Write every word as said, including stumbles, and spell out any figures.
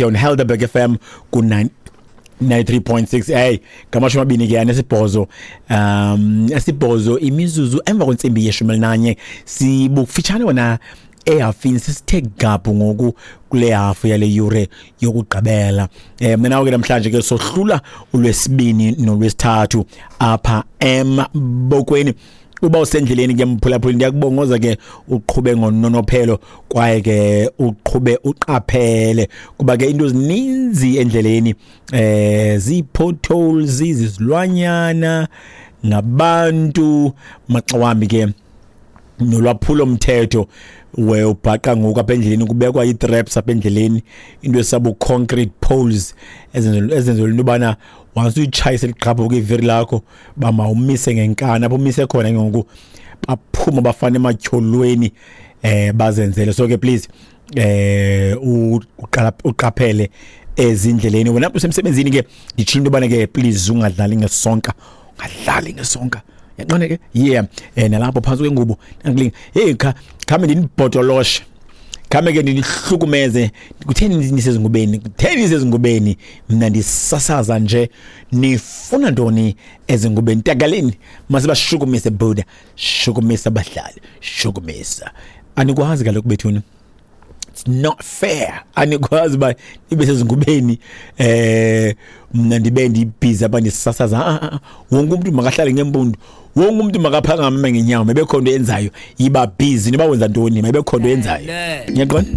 On Helderberg F M ku ninety-three point six. Hey, ngamashumi amabini ke anesibhozo, um esibhozo imizuzu emva kwentsimbi yeshumi elinanye. Sibufitshane wena ehafini, sisithe gaphu ngoku kule hafu yale yure yokugqibela. Eh mina ke namhlanje ke sohlula ulwesibini nolwesithathu apha embokweni. Uba usendleleni ke mphulaphuli, ndiyakubongoza ke uqhube ngononophelo kwaye ke uqhube uqaphele, kuba ke into ezininzi endleleni, eh zii-potholes, izilwanyana ngabantu, maxa wambi ke nolwaphulo mthetho we ubhaqa ngoku apha endleleni kubekwa ii-traps apha endleleni, into esabo concrete poles ezenzelwe into yobana once uyitshayise liqhaphuke iviri lakho uba mawumise ngenkani. Apho umise khona ke ngoku baphuma bafana ematyholweni, eh bazenzele. So ke please eh uqaphele ezindleleni. Wena usemsebenzini ke nditshilo into yobana ke please ungadlali ngesonka, ungadlali ngesonka. Yaqonda ke? Yeah, eh nalapho phantsi kwengubo nangilinga. Hey, kha khame ndinibhotoloshe, khame ke ndinihlukumeze. Kutheni nisezingubeni? Kutheni nisezingubeni? Mna ndisasaza nje, nifuna ntoni ezingubeni? Takaleni masibashukumise buda, shukumisa abahlali, shukumisa. Anikwazi kaloku bethuni, it's not fair. Anikwazi uba nibe sezingubeni, eh mna ndibe ndibhizi apha ndisasaza. Ah, wonke umuntu makahlale ngempundu, wonke umuntu makaphakame ngenyawo, maybe khona into yenzayo. Yiba busy noba wenza ntoni, maybe khona into yenzayo. Ngiyaqonda?